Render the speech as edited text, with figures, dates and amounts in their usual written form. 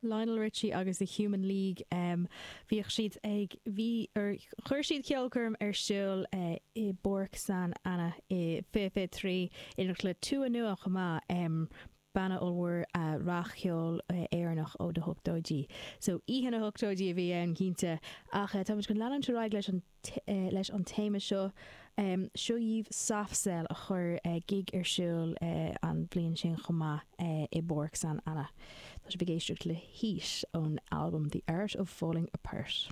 Lionel Richie agus The Human League, bhíodh siad ag, bhí, or chuir siad ceolchoirm ar siúl i bPáirc San Anna i 2023 in éineacht le Tua Nua chomh maith, banna ollmhór rac-cheoil Éireannach ó na hochtóidí. So oíche na hochtóidí a bhí ann cinnte. Ach táimid chun leanúint ar aghaidh leis an. leis an téama seo. Seo dhaoibh Soft Cell a chuir gig ar siúl an bhliain sin chomh maith i bPáirc San Anna. Tá sibh ag éisteacht le Heat ón albam The Art of Falling Apart.